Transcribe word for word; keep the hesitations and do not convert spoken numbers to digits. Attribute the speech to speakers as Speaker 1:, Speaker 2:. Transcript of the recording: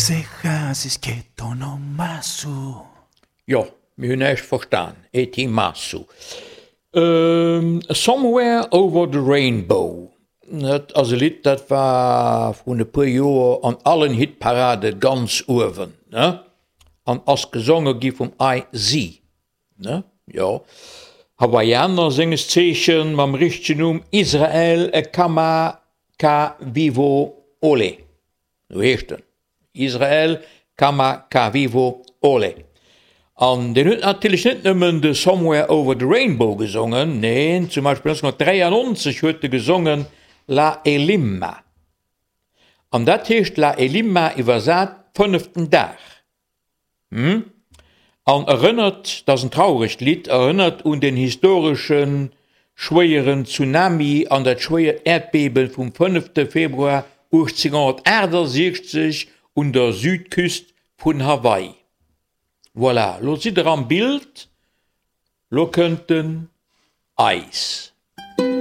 Speaker 1: Ξεχάσεις και το όνομά σου.
Speaker 2: Jo, mir hunn näischt verstan. Etimasu. Somewhere Over the Rainbow, dat ass e Lidd, dat war vrun e puer Joer an allen Hitparade ganz uewen, ne? An ass gesonge gi vum I Z, ne? Jo. Hawaiianer, senges Zeechen mam richtegen Numm Israel Kamakawiwo'ole. Sou heescht en. Israel Kamakawiwo'ole. An deen huet natierlech net nëmmen de Somewhere Over the Rainbow gesongen, neen, zum Beispill nonzénghonnertdräiannonzeg huet e gesongen Laelima. An dat heescht Laelima iwwersat fënneften Dag. Hm? An erënnert, dat ass en trauregt Lidd, erënnert un den historesche schwéieren Tsunami an dat schwéiert Äerdbeben vum fënnefte Februar uechtzénhonnertaachtasechzeg un der Südküst vun Hawaii. Voilà, lo sidd der am Bild, lo kënnt den Eis.